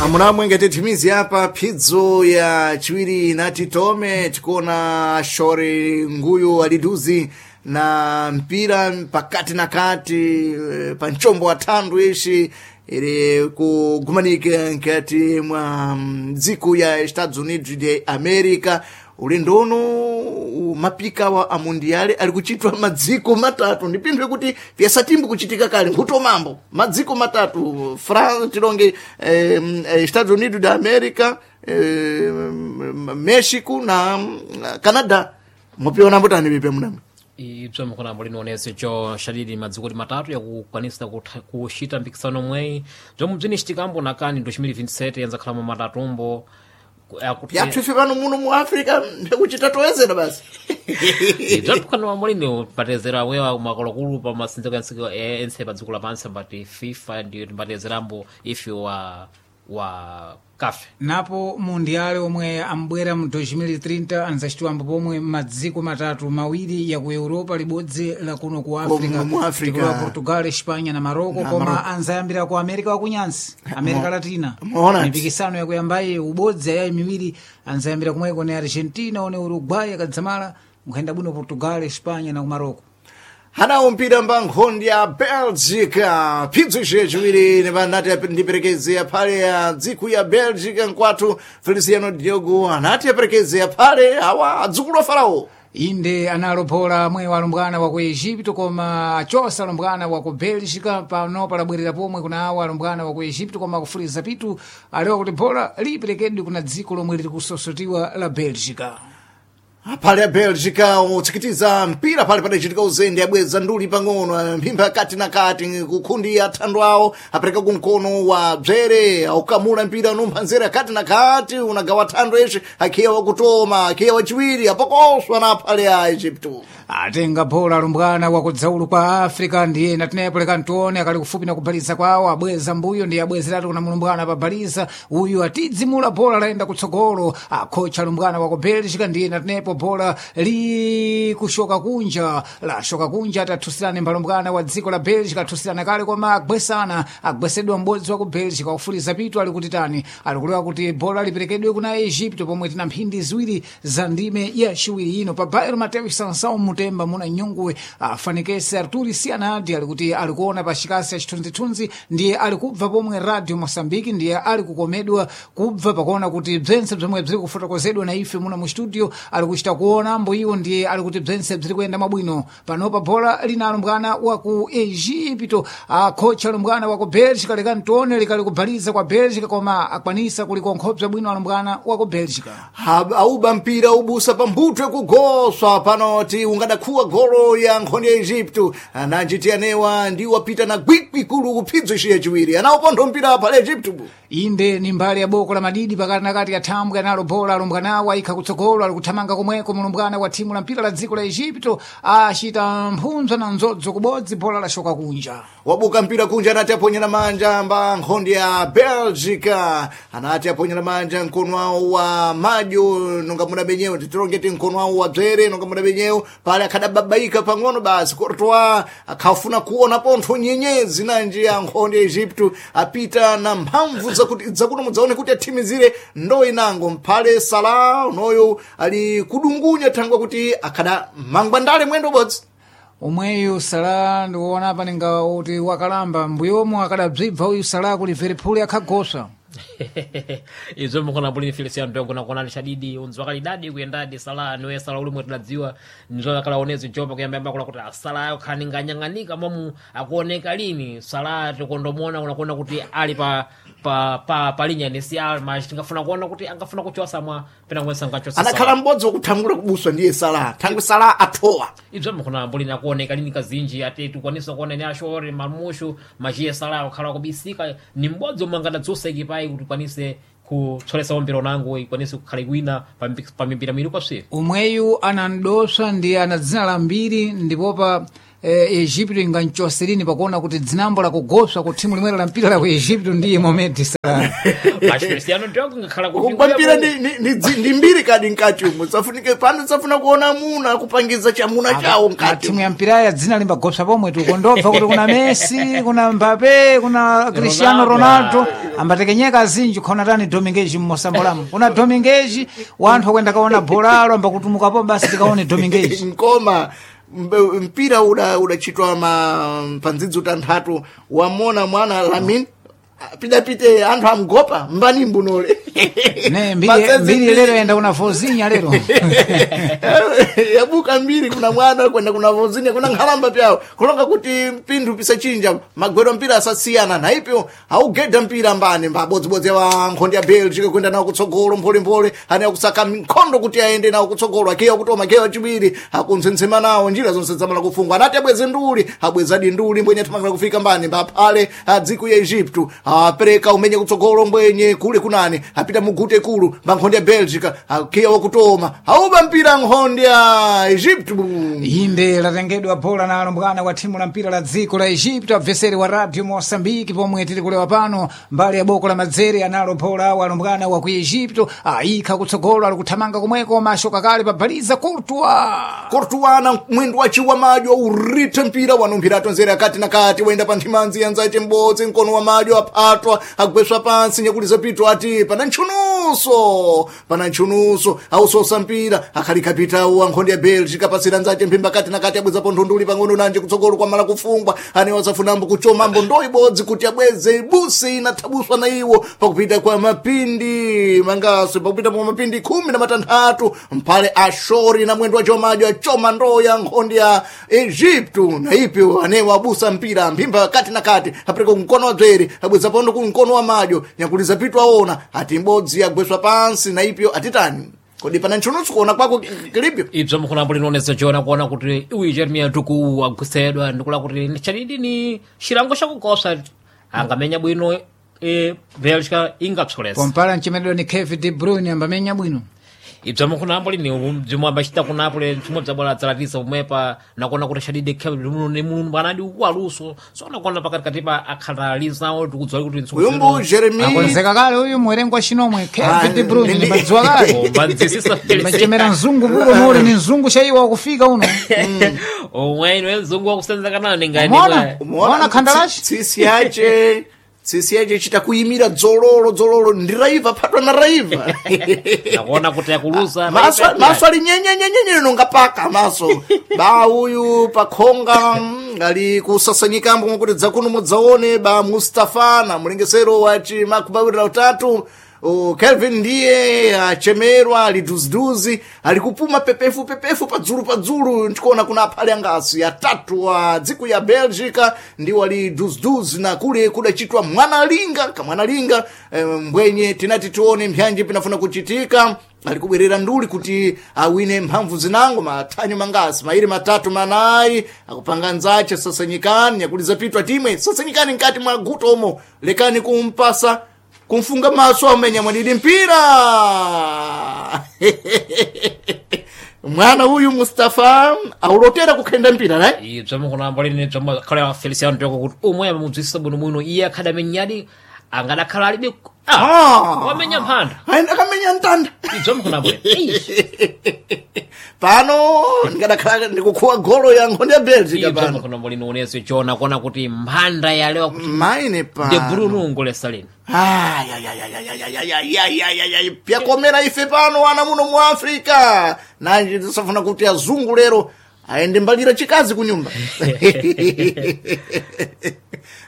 Amunamwe tithimizi apa phidzo ya chiwiri inati tome tikuona shore nguyu aliduzi na mpira pakati na kati pa mchombo wa thandu ishi ili kugumanika nkati mwa dziko ya Estados Unidos de America. Ulendo uno mapika wa amundiale ali kuchitwa madziko matatu, ndi pinthu kuti pyasatimbu kuchitika kale nkhuto mambo madziko matatu France tilonge Estados Unidos de America, Mexico na Canada. Mwapiona mbotani vipe munamwe? Ibzo mukona linoonese cho shadidi madziko matatu yakukwanisa kuxita mpikisano mweyi bzomwe bzinicitikambo nakani 2027 yanzakhalamo matatumbo. Pyathu ife pano muno mu Africa ndikuchita toyezera basi. Bzathukhana mulini patezera wewa makulukulu pa masinziko ense pa dziko lapansi ambati FIFA ndiyo timbatezerambo ife wa kafe. Napo mundiale omwe ambwera mu 2030 anzacitiwambo pomwe madziko matatu, mawiri ya ku Europa, libodzi la kuno ku Africa, mu Africa. Tikulowa Portugal, Espanha na Marocco, Na koma Marocco. anzayambira ku America wakunyansi, America Latina. Muona. Mipikisano yakuyambayi ubodzi ayayi miwiri anzayambira kumweko ne Argentina one Uruguay akadzamala nkhayenda bwino Portugal, Espanha na ku Marocco. Hanawo mpira mba nkhondi ya Belgica, phidzo ici yaciwiri nipanati ndiperekeze aphale ya dziko ya Belgica nkwathu Feliciano Diogo anati aperekeze aphale awa adzukulu a Farao. Inde analopola amwe alumbwana wa ku Egipto koma achosa alumbwana wa ku Belgica. Pano palabwerera pomwe kuna awo alumbwana wa ku Egipto koma kufuliza pitu alewa kuti bola liperekedwe kuna dziko lomwe liri kusosotiwa la Belgica. Aphale ya Belgica utsikitiza mpira pale padachitika uzende abweza nduli pang'ono mphimba kati na kati kukhundi athandu awo apereka kumkono wa bzere aukamula mpira unumpha nzere kati na kati unagawa thandu eshe akhiya wakutoma akhiya wachiwiri apokoswa na aphale ya Egypto. Atenga bola alumbwana wa kudzaulu kwa Africa ndiye natenepo leka ntione akali kufupi na kubaliza kwawo abweza mbuyo ndiye abwezeratu kuna mulumbwana pabaliza uyu atidzimula bola layenda kutsogolo akhocha alumbwana wa ku Belgica ndiye natenepo bola likushoka kunja lashoka kunja atathusirane mbalumbwana wa dziko la Belgica athusirana kale koma agwesana agwesedwa m'bodzi wa ku Belgica wakufuliza pitu ali kuti tani alikulewa kuti bola liperekedwe kuna Egypto pomwe tina mphindi ziwiri za ndime ya chiwiri ino pa Bairo Mateus Sansão Mutemba muna nyunguwe afanikese Arturi Sianadi alikuti alikuona pa chikasi ya chithunzithunzi ndiye alikubva pomwe Radio Mosambiki ndiye alikukomedwa kubva pakuona kuti bzentse bzomwe bziri kufotokozedwa na ife muna mu studio alikuchita kuona mbo iwo ndiye alikuti bzentse bziri kuyenda mwabwino. Panopa bola lina alumbwana wa ku Egipto akhocha alumbwana wa ku Belgica lekani tione likali kubaliza kwa Belgica koma akwanisa kulikonkhobza bwino alumbwana wa ku Belgica. Auba mpira ubusa pamphutwe kugoswa panoti ungadakhuwa golo ya nkhondo ya Egypto ananjiti anewa ndi wapita na gwikwi kulu kuphidzo ici yachiwiri anawopontho mpira aphale Egypto. Inde ni mbali ya boko la madidi pakati na kati ya thambwe analo bola alumbwanawo ayikha kutsogolo alikuthamanga komweko mulumbwana wa thimu la mpira la dziko la Egipto achita mphunzwa na nzodzo kubodzi bola lashoka kunja. Wabuka mpira kunja anati aponyera manja mba nkhondo ya Belgica anati aponyera manja mkono wawo wa madyo nonga muda benyewo titilongeti mkono wawo wa bzere nonga muda benyewo pale akhadababaika pang'ono basi Courtois akhafuna kuona pontho nyenyezi nanji ya nkhondo ya Egypto apita na mphamvu zakuti zakuno mudzaone kuti athimizire ndo inango mphale Salah unoyo ali kudungunya thangwa kuti akhada mangwandale mwendo ubodzi. Omweyu Salah ndikuona apa ninga kuti wakalamba mbuyomo akadabzibva uyu Salah ku Liverpool akhagoswa. Izo mukona bulini Feliciano Diogo nakuonani shadidi unzi wakalidadi kuyendadi Salah niwe Salah ulimwe tidadziwa nizo akalaonezi jopa kuyambayamba kula kuti Salah ayo khani nganyang'anika momu akuoneka lini Salah tikondomuona unakuona kuti ali pa pa pa palinya ni si alma tingafuna kuona kuti angafuna kuchosa mwa pena kuwensa ngachosa. Anakhala m'bodzi wakuthangula kubuswa ndiye Salah thangwi Salah athowa. Ibzo mukona bulini akuoneka lini kazinji ati tikwanisa kuona ni ashore mamushu machiye Salah akhala kubisika ni m'bodzi omwe angadadzusa ikipayi kuti kwanise Kutsolesa mpira unango ikwanise kukhala ikwina pa mipira miwiri kwapsiri. Umweyu anandoswa ndi ana dzina la mbiri ndipopa Egipto inganchoserini pakuona kuti dzinambo lakugoswa ku thimu limwero la mpira la ku Egipto ndiye Mohamed Salah. Feliciano Diogo ngakhala Kugwa mpira ndi mbiri kadi nkati umu safunike pano safuna kuona amuna kupangiza chamuna chawo nkati. Thimu ya mpira ya dzina limbagoswa pomwe tikondobva kuti kuna Messi, kuna Mbappe, kuna Cristiano Ronaldo ambatekenyeka azinji khona tani Dominguez mmosambolamo kuna Dominguez wanthu akwenda kaona bolalo ambakutumukapo basi tikaone Dominguez. Nkoma mpira udachitwa pandzidzi utanthatu wamona mwana Lamin pidapite anthu amgopa mbani mbunole. Ne mbiri lero yenda kuna Vozinha lero. Yabuka mbiri kuna mwana kwenda kuna Vozinha kuna nkhalamba pyawo kulonga kuti mpinthu pisachinja magwero mpira asasiyana naipyo augeda mpira mbani mbabodzibodzi wa nkhondo ya Belgium kwenda nawo kutsogolo mpholemphole ane akusaka nkhondo kuti aende nawo kutsogolo akeya kutoma keya chiwiri akuntsensema nawo njira zonse zamala kufungwa anati abweze nduli abwezadi nduli mbwenye athamangala kufika mbani mbaphale adziko ya Egypto apereka umenye kutsogolo mbwenye kule kunani apita mugute kulu mba ya Belgica akiya wakutoma auba mpira nkhondo ya Egypto. Inde latengedwa bola na alumbwana wa thimu la mpira la dziko la Egypto abveseri wa Radio Mosambiki pomwe tili kulewa pano mbali ya boko la madzere analo bola wa alumbwana wa ku Egypto ayikha kutsogolo ali kuthamanga komweko mashoka kale pabaliza Courtois. Courtois na mwendo wachiwa madyo urite mpira wanomphira atonzera kati na kati wenda pa nthimanzi yanzace m'bodzi mkono wa madyo aphatwa agweswa pansi nyakuliza pito ati pana ntchunuso pana ntchunuso ausosa mpira akhalikapitawo ankhondo ya Belgica apasira nzace mphimba kati na kati abwezapo nthunduli pang'ono nanje kutsogolo kwamala kufungwa ane wasafunambo kuchomambo ndo ibodzi kuti abweze ibusi inathabuswa na iwo pakupita kwa mapindi mangaso pakupita kwa mapindi 16 mphale ashori na mwendo wacho madyo achoma ndoo ya nkhondo ya Egypto na ipyo anewo abusa mpira mphimba kati na kati apereka kumkono wa dzwere abweza pondo kumkono wa madyo nyakuliza pitu aona ati imbodzi yagweswa pansi na ipyo atitani kodi pana ntchunusu kuona kwako kilipyo. Ibzo mukhulambo linoonesa chona kuona kuti uyu Jeremiah Tuku agwisedwa ndikula kuti chanidi ni chilango chakukosa angamenya bwino Belgica ingapsolesa. Pompala mchemedwa ni Kevin De Bruyne ambamenya bwino. Ibzo mukhulambo lini bzimwe ambachita kunapole bzimwe bzabwala adzalatiza pomwepa nakuona kuti chadidi Kevin ni mulungu anadi waluso so nakuona pakatikati pa akhalalizawo tikudziwa kuti Uyumbu Jeremy akonzeka kale uyu mwerengo wa chinomwe Kevin De Bruyne ni madziwa kale machemera mzungu buko muli ni mzungu chaiwa wakufika uno. Omwe mzungu wakusenzeka nani ngani. Umeona khandalashi tsisi yace tsisi yace chita kuyimira dzololo dzololo ndi raiva phatwa na raiva. Nakuona kuti akuluza maso ali nyenyenyenyenye nonga paka maso ba uyu pakhonga ali kusasanyikambo mwakuti dzakuno mudzaone ba Mustafa na mlengesero wa chimakubawirira utatu Kelvin ndiye achemerwa ali duziduzi ali kupuma pepefu pepefu padzulu padzulu ndikuona kuna aphale angasi atatu wa dziko ya Belgica ndiwo ali duziduzi na kule kudachitwa mwanalinga kamwanalinga mbwenye tinati tione mbyanji pinafuna kuchitika alikubwerera nduli kuti awine mphamvu zinango mathanyo mangasi mairi matatu manayi akupanga nzache sasanyikani nyakuliza pitwa timwe sasanyikani nkati mwa guto omo lekani kumpasa kumfunga maso amenya mwadidi mpira. Mwana uyu Mustafa aulotera kukhenda mpira naye. Ibzo mukunamba lini bzomwe khala Feliciano Diogo kuti umwe amamudziwisa bwino bwino iye akhadi amenyadi angadakhala alibe wamenya mphanda akamenya mtanda. Ibzo mukunamba pano ndingadakhala ndikukhuwa golo ya nkhondo ya Belgica ibzo pano mukunamba lini uneso chona kuona kuti mphanda yalewa kuti maine De pano Bruyne ungolesa lini. Ayayayayayayayayayayayay pyakomera ife pano ana muno mu Africa nanje tisafuna kuti azungu lero aende mbalira chikazi kunyumba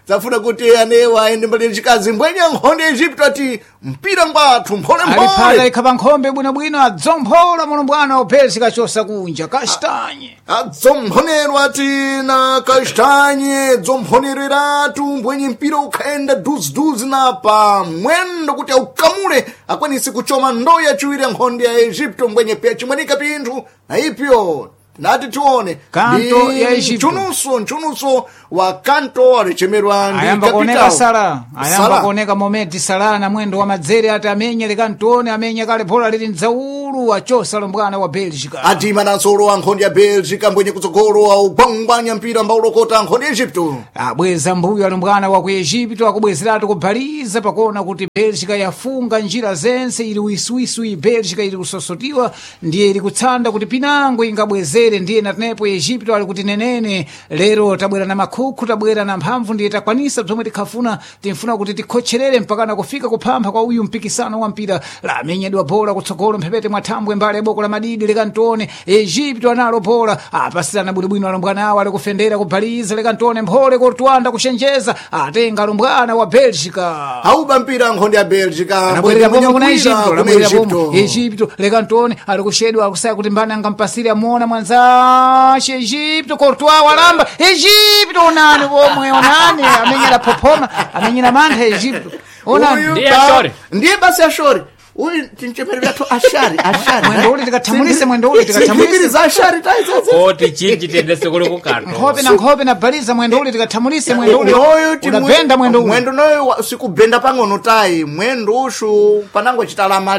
tafuna kuti anewa aende mbalira chikazi mbwenye nkhondo ya Egypto ati mpira ngwathu mphole aliphata mphole ikha pa nkhombe bwinobwino adzomphola mulumbwana wa Belgica chosa kunja kastanye adzomphonerwa ati na kastanye dzomphonereratu mbwenye mpira ukhaenda duziduzi na pa mwendo kuti aukamule akwanise kuchoma ndoo yachiwiri ya nkhondo ya Egypto mbwenye pya chimwenika pinthu na ipyo Nati tione Kanto Ndi ya Egipto. mchununso wa kanto alichemerwa ndi Ayamba kuoneka capital. Sala, ayamba Salah. kuoneka Momedi Sala na mwendo wa madzere ati amenye lekantone amenye kale bola lili mdzaulu achosa lumbwana wa Belgica. Adima nansolo wa nkhondo ya Belgica mbwenye kutsogolo augwangwanya mpira mbaulokota nkhondo ya Egypto. Abweza mbuyo alumbwana wa ku Egipto akubwezeratu kubhaliza pakuona kuti Belgica yafunga njira zense ili wiswiswi. Belgica ili kusosotiwa ndiye ili kutsanda kuti pinango ingabwezere, ndiye natenepo Egipto ali kuti nenene lero tabwera na makhukhu, tabwera na mphamvu, ndiye takwanisa zomwe tikhafuna, timfuna kuti tikhotcherere mpakana kufika kuphampha kwa uyu mpikisano wa mpira. Lamenyedwa bola kutsogolo mphepete mwa thambwe mbali ya boko la madidi lekantone Egipto analo bola apasirana bwinobwino alumbwana awo ali kufendera kubhaliza lekantone mphole kortwanda kuchenjeza atenga alumbwana wa Belgica. Auba mpira nkhondo ya Belgica Anabwerera mbwenye pomwe kuna mpira Egipto, kuna anabwerera pomwe Egypto. Egipto lekantone ali kushedwa akusaya kuti mbani angampasire amuona mwanzace Egipto Courtois walamba Egipto onani pomwe onani amenyera phophoma amenyera mantha Egipto onani. Uyu Ndiye Ashori. Ndiye basi Ashori. Uyu tinchepere vyathu Ashari, Ashari. Mwendo uli tikathamulise, mwendo uli tikathamulise. Sindimbiri za Ashari taizozo. Oti chinji tiyendese kuli kukanto. Nkhope na nkhope na baliza mwendo uli tikathamulise mwendo uli Noyo ti udabenda mwendo uli. mwendo noyo sikubenda pang'ono tayi mwendo ushu panango chitalamale.